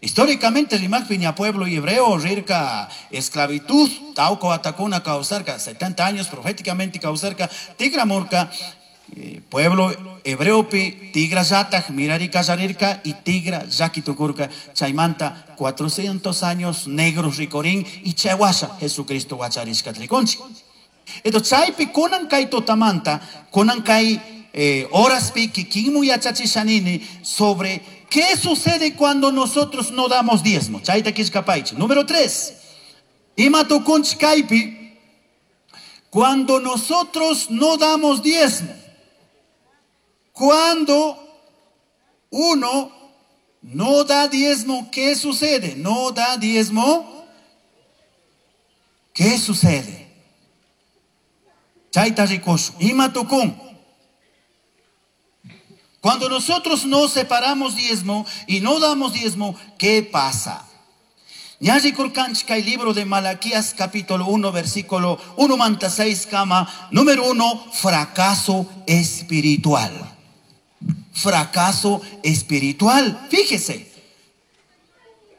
Históricamente, rimaqpi ña pueblo hebreo rirka esclavitud, tauco atakuna causarka, 70 años proféticamente causarka, tigramurka, pueblo hebreopi, tigra yataj, mirari kallarirka y tigra llakitukurka, chaymanta 400 años negros rikorin y chaywasha Jesucristo wacharishka trikonchik. Entonces, chaypi kunan kay tutamanta, kunan kay horaspi kikinmu yachachishanini sobre qué sucede cuando nosotros no damos diezmo. Chayta killkapaychik. Número 3. Ima tukunchik kaypi cuando nosotros no damos diezmo. Cuando uno no da diezmo, ¿qué sucede? No da diezmo, ¿qué sucede? Chayta rikush. Ima tukun. Cuando nosotros no separamos diezmo y no damos diezmo, ¿qué pasa? Ña rikurkanchik kay libro de Malaquías capítulo 1 versículo 1 manta 6 kama, número 1, fracaso espiritual. Fracaso espiritual. Fíjese.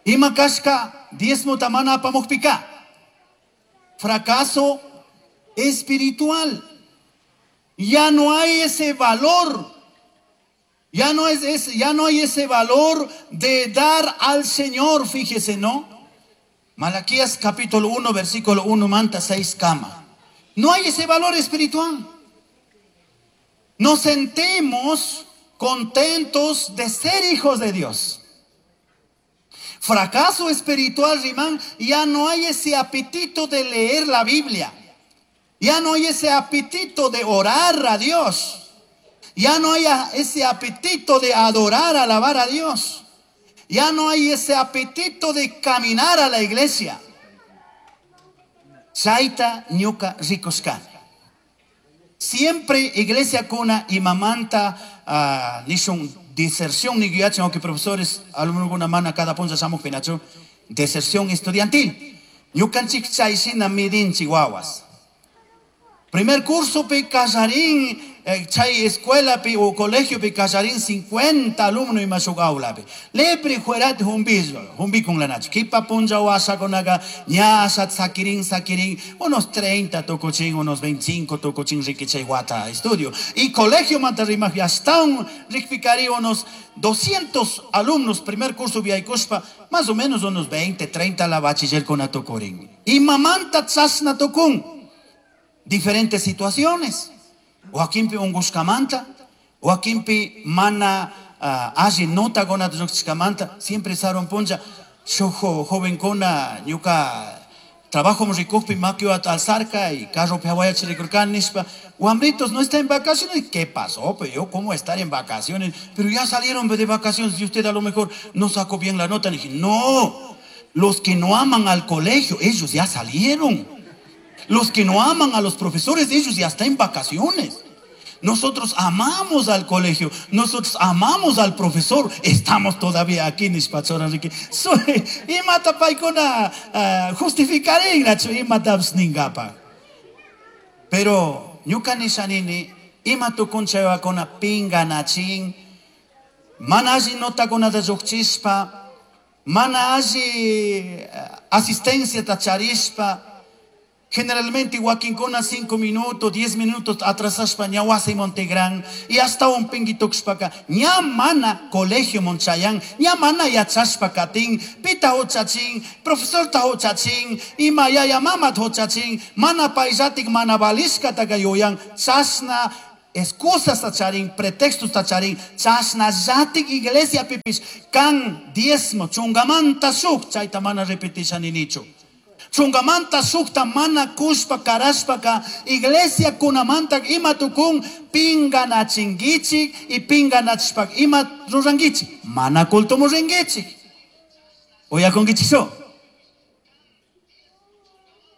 Ima kashka diezmo tamana apamukpika. Fracaso espiritual. Ya no hay ese valor. Ya no es ese, ya no hay ese valor de dar al Señor, fíjese, ¿no? Malaquías capítulo 1, versículo 1, manta 6, kama. No hay ese valor espiritual. Nos sentimos contentos de ser hijos de Dios. Fracaso espiritual, Rimán, ya no hay ese apetito de leer la Biblia. Ya no hay ese apetito de orar a Dios. Ya no hay ese apetito de adorar, alabar a Dios. Ya no hay ese apetito de caminar a la iglesia. Chayta ñuka rikushkani. Siempre iglesia kuna y mamanta, nishun deserción ni guiachen, aunque profesores, alumnos una mana cada punta shamuj pinachu, deserción estudiantil. Ñukanchik chayshina midin chihuahuas. Primer curso pe kallarin, chay escuela pe o colegio pe kallarin 50 alumnos y más aula pe. Lepri juerat humbi, humbi con la nacho. Kipa punja wasa con aga, ñasa sakirin, sakirin, unos 30 tocochin, unos 25 tocochin riquichay guata estudio. Y colegio mantarima ya está un rikpicari unos 200 alumnos, primer curso viaicuspa, más o menos unos 20, 30 la bachiller con atocorin. Y mamanta tzasna tocun. Diferentes situaciones. O aquimpi ungushkamanta, o aquimpi mana, alli nota gona lluqshkamanta, siempre saron puncha, shuj joven kona ñuka trabajo rikukpi makiwa alzarka y carro piawaya chirikurkan nishpa, wambritos no está en vacaciones. ¿Qué pasó? Pero yo, ¿cómo estar en vacaciones? Pero ya salieron de vacaciones y usted a lo mejor no sacó bien la nota. Le dije, no, los que no aman al colegio, ellos ya salieron. Los que no aman a los profesores, ellos ya están en vacaciones. Nosotros amamos al colegio, nosotros amamos al profesor, estamos todavía aquí, nishpa Enrique. Soy, imata paikuna, justificaré, nacho, imata ningapa. Pero, ñuka nishanini, ima tukunchayakuna pinga nachin, mana alli notakuna da lluqchispa, mana alli asistencia tacharishpa. Generalmente wakinkuna 5 minutos, 10 minutos atrasashpa ña wasi Montegrán y hasta un pinguituxpaka ña mana colegio Monchayán, ña mana yachashpa katin, pita hochachin, profesor ta hochachin, ima yaya mama hochachin, mana paisatik mana balishka taka yoyan, chasna excusas tacharin, pretextos tacharin, chasna yatik iglesia pipis, kan diezmo, chungamanta shuk, chayta mana repetisha ninichu. Chungamanta shukta mana kushpa karashpaka iglesia kunamanta ima tukun pinganachinkichik y pinganachishpaka ima rurankichik mana cultomu rinkichik. Uyakunkichikchu?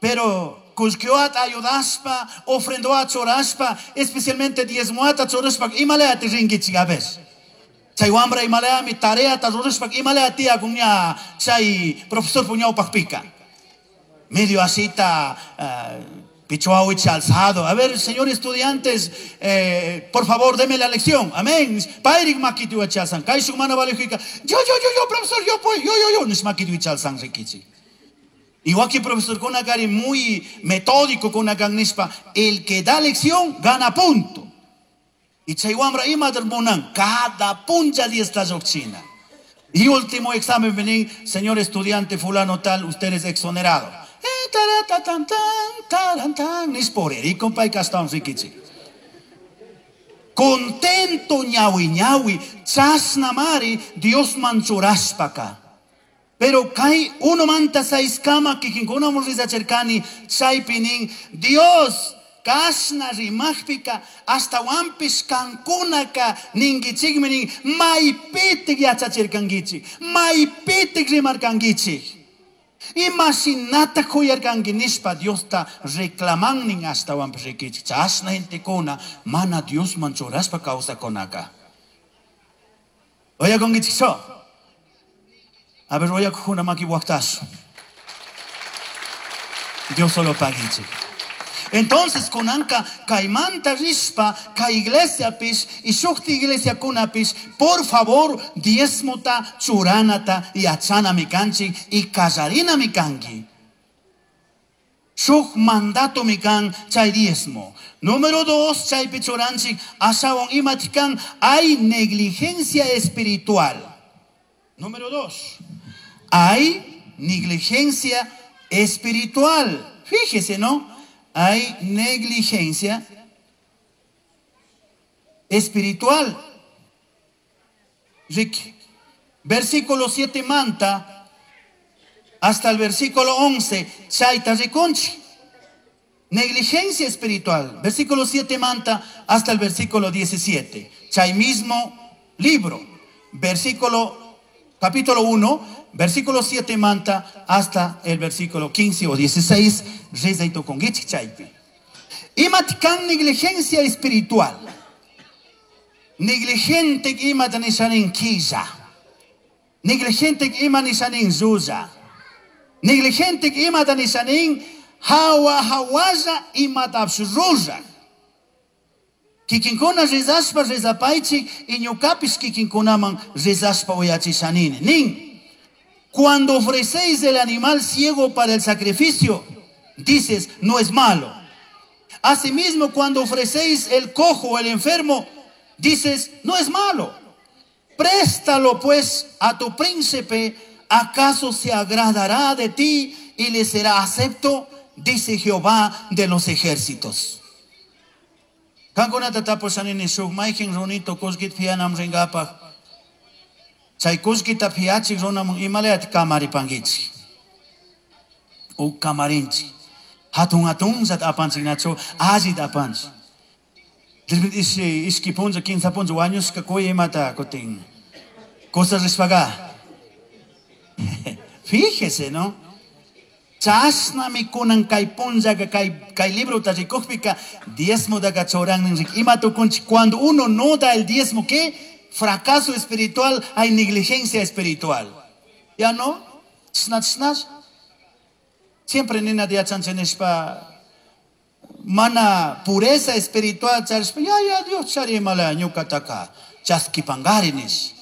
Pero kullkiwata ayudashpa, ofrendowata churashpa, especialmente diezmowata churashpa imalayati rinkichik a ver. Chay wambra imalayami tareata rurashpa imalaya tiyakun ña chay profesor ñawpaqpika. Medio asita, pichuawichi alzado. A ver, señor estudiantes, por favor, deme la lección. Amén. Payrik makiti wachalsan. Kayshuk mana valijika. Yo, yo, yo, yo, profesor, yo, pues, yo, yo, yo. Nish makiti wichalsan rikichi. Igual que profesor kunakari muy metódico kunakan nishpa, el que da lección gana punto. Y chay wambra ima munan, cada puncha diez lluqchina. Y último examen, vení, señor estudiante fulano tal, usted es exonerado. Contento ñawi ñawi, chasnamari, Dios manchuraspaka. Pero kay uno manta seis kama kikinkuna rizacherkani, chaypinin, Dios kasna rimajpika, hasta wampis kankunaka ninkichikmi nin, maypitik yachachirkankichik, maypitik rimarkankichik. Imashinata kuyarkanki nishpa Diosta reclamannin hasta wampis rikichik. Chasna gentekuna mana Diosman churashpa kawsakunaka. Oyakunkichikchu? A ver, oyakujuna maki waqtasu. Dios solo pagichik. Entonces, kunanka kaymanta rishpa, kay iglesia pish, y shukti iglesia kunapis, por favor, diezmota, churanata, yachana mikanchik, y kallarina mikanki. Shuk mandato mikan chay diezmo. Número 2, chaypi churanchik, ashawan imatikan, hay negligencia espiritual. Número 2, hay negligencia espiritual. Fíjese, ¿no? Hay negligencia espiritual. Ricky. Versículo 7 manta hasta el versículo 11. Chaita rikunchi. Negligencia espiritual. Versículo 7 manta hasta el versículo 17. Chay mismo libro. Versículo, capítulo 1, versículo 7 manta hasta el versículo 15 o 16. Rezaito con chaypi. Imatkan negligencia espiritual. Negligente imatanishanin quilla. Negligente imanishanin zuza. Negligente imatanishanin hawa hawaza imatapsruza. Kikinkuna rezaspa rezapaichi y ñucapis kikinkunaman rezaspa uyachishanini. Nin. Cuando ofrecéis el animal ciego para el sacrificio, dices, no es malo. Asimismo, cuando ofrecéis el cojo o el enfermo, dices, no es malo. Préstalo pues a tu príncipe, ¿acaso se agradará de ti y le será acepto? Dice Jehová de los ejércitos. Kankunata tapushanini shuk mayqin runito kullkita piyanam rinkapaq. Chay kullkita piyachik runaman imalayata kamaripankichik. U kamarinchik. Hatun hatunllata apanchik nachu allita apanchik. Ishki punlla, kinsa punlla wañushka kuy imata kutin. Cosas rishpaqa. Fíjese, ¿no? Chasnami kunan kay punllaka kay librota rikukpika diezmotaka churannin rik. Ima tukunchik cuando uno no da el diezmo, ¿qué? Fracaso espiritual, hay negligencia espiritual. ¿Ya no? Chasna, chasna. Siempre nina yachanchik nishpa mana pureza espiritual charishpa, ya, ya, Dios charimala ñukataka chaskipangari nish.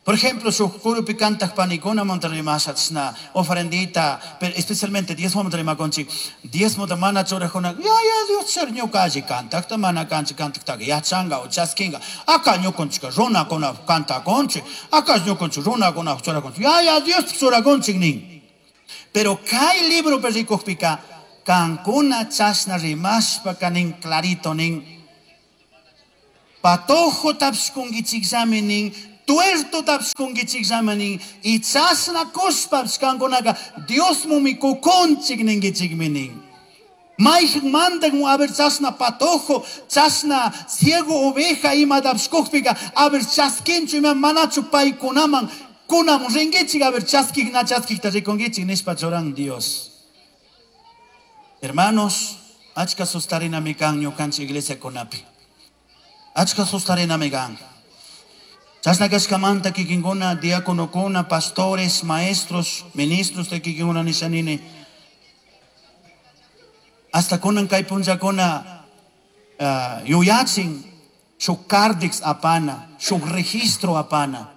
Por ejemplo, shuk kurupi kantaq panikuna montarrimasha chashna ofrendita, pero especialmente diezmo montarrimakunchik, diezmota mana churajuna, ya, ya, Dios char ñuka alli kantaqta mana kanchik kantaqtaqa yachanqa o chaskinqa, aka ñukunchikka runakuna kantakunchik, aka ñukunchik runakuna churakunchik, ya, ya, Dios churakunchik nin. Pero kay libro rikukpika, kankuna chashna rimashpaka nin clarito nin, patojo tapshkunkichikllami nin, Tuerto tapshkunkichikllami nin. Y chashna kushpapish kankunaka Diosmumi kukunchik ninkichikmi nin. Mayhan mandan a ver chashna patojo, chashna ciego oveja imatapish kukpika, a ver chaskinchu ima manachu paykunaman kunamun rinkichik, a ver chaskik na chaskikta rikunkichik nishpa churan Dios. Hermanos, achka sustarinami kan ñukanchik iglesiakunapi. Achka sustarinami kan. Chashna kashkamanta kikinkuna, diáconokuna, pastores, maestros, ministros de kikinkuna nishanini. Hasta kunan kay punllakuna yuyachin shuk kardix apana, shuk registro apana.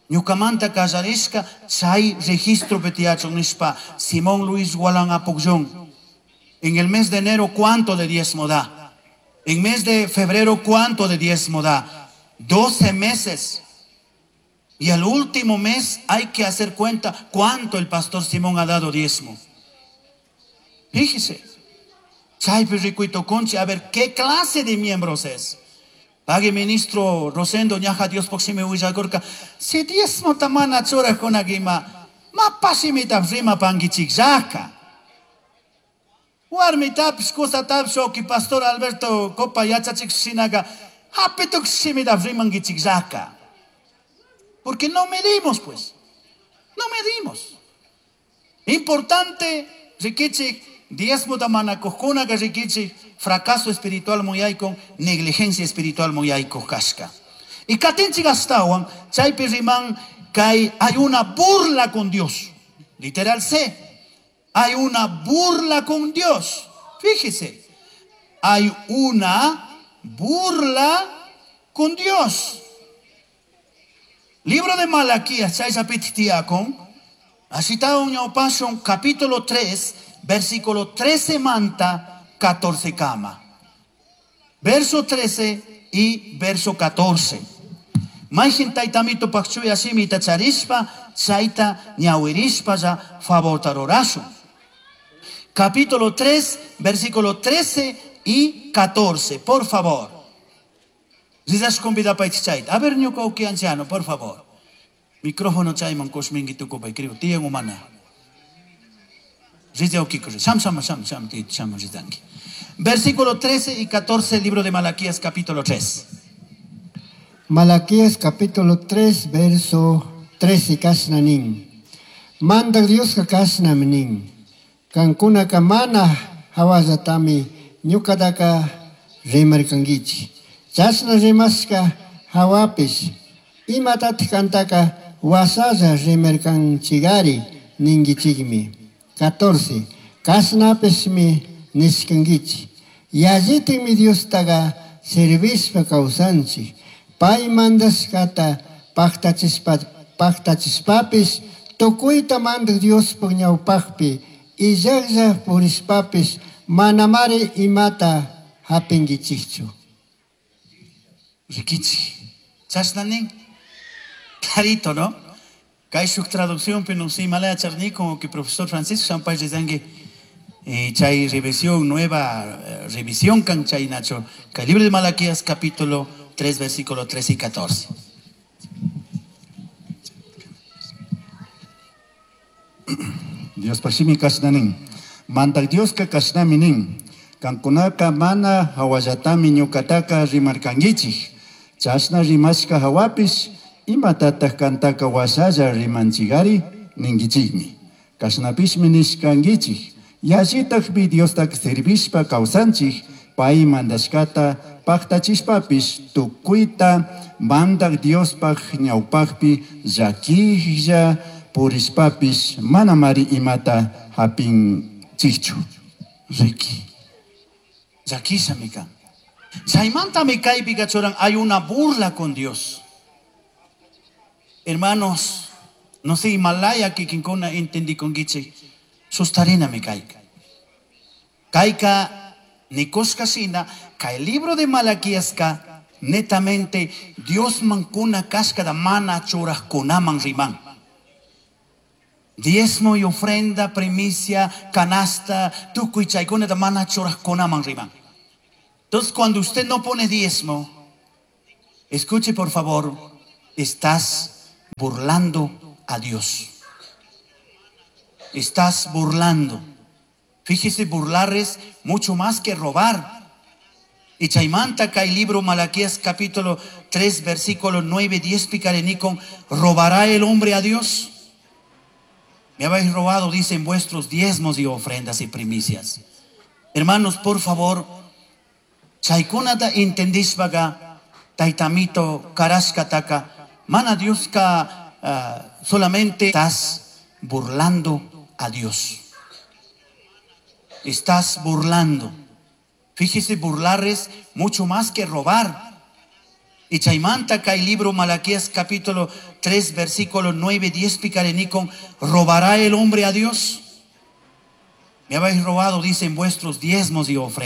Ñukamanta kallarishka chay registro tiyachun nishpa Simón Luis Gualán Apucllón. En el mes de enero, ¿cuánto de diezmo da? En mes de febrero, ¿cuánto de diezmo da? 12 meses. Y al último mes hay que hacer cuenta cuánto el pastor Simón ha dado diezmo. Fíjese. Chaypi rikuito conchi, a ver, ¿qué clase de miembros es? Pague ministro Rosendo, ñaja Dios poxime huillakurka. Si diezmo tamana churajkunakima, mapashimita rima pankichikllaka. Warmitapis, kusatapis, oki pastor Alberto Copa yachachik shinaka, hapitukshimita rimankichikllaka. Porque no medimos, pues. No medimos. Importante, rikichik, diezmo tamana kujkunaka rikichik, fracaso espiritual muyaykon, negligencia espiritual muyaykoj kashka. Y katinchik astawan, chaypi riman kay hay una burla con Dios. Literal C. Hay una burla con Dios. Fíjese. Hay una burla con Dios. Libro de Malaquías, chay sapiti tiyakun, así está un ñawpashun, capítulo 3, versículo 13 manta, 14 kama. Verso 13 y verso 14. Mayhin taytamito pakchuy asimita charishpa, chayta ñawirishpa ya favorta rurashun. Capítulo 3, versículo 13 y 14, por favor. Rizas convida pa chayta. A ver, ñuka uki anciano, por favor. Micrófono chayman kushminki tukupay, creo. Tiyan humana. Rizia uki kush. Sham, sham, sham, sham, ti, sham, rizanki. Versículo 13 y 14, libro de Malaquías, capítulo 3. Malaquías, capítulo 3, verso 13, kashna nin. Manda Dios ka kashna nin. Kankuna mana hawallatami ñukataka rimarkankichik. Chashna rimashka hawapish imatatik kantaka wasalla rimarkanchikari ninkichikmi. 14. Kashnapishmi nishkankichik. Yallitikmi Diostaka servishpa kawsanchik. Pay mandashkata paktachishpapish tukuyta mandak Diospuk ñawpakpi illaklla purishpapish manamari imata hapinkichikchu. Rikichi. Chashna nin. Clarito, ¿no? Kay shuk traducción pero no sé, malaya charni, como que profesor Francisco Sampay Rizangue, chay revisión nueva, revisión kan chay nacho. Kay libro de Malaquías capítulo 3, versículo 13 y 14. Dios pashimi kashna nin. Mandak Dios ka kashnami nin. Kankunaka mana hawallatami ñukataka rimarkankichik. Chashna rimashka hawapish imatataq kantaka washalla rimanchigari ninkichikmi. Kashnapishmi nishkankichik. Yallitakmi Diostak servishpa kawsanchik, pay mandashkata paktachishpapish tukuyta mandak Diospaj ñawpakpi llakilla purishpapish manamari imata hapinchikchu. Riki. Llakisha mi kan. Chaymantami kaypi kachuran, hay una burla con Dios. Hermanos, no sé, Himalaya kikinkuna entendí con giche. Sustarina mi kayka. Kayka nikushka shina, kay libro de Malaquías ka, netamente Dios mankuna kashka da mana churajkunaman riman. Diezmo y ofrenda, primicia, canasta, tukuy chaykuna da mana churajkunaman riman. Entonces, cuando usted no pone diezmo, escuche por favor, Estás burlando a Dios. Estás burlando. Fíjese, burlar es mucho más que robar. Y chaymanta kay libro Malaquías capítulo 3 versículo 9 10 picarenicon, ¿robará el hombre a Dios? Me habéis robado, dicen vuestros diezmos y ofrendas y primicias. Hermanos, por favor, chaykunata entendishpaga, taytamito karashkataka, mana Dioska solamente estás burlando a Dios. Estás burlando. Fíjese, burlar es mucho más que robar. Y chaymanta kay libro Malaquías capítulo 3 versículo 9 10 picarenicon, ¿robará el hombre a Dios? Me habéis robado, dicen vuestros diezmos y ofrendas.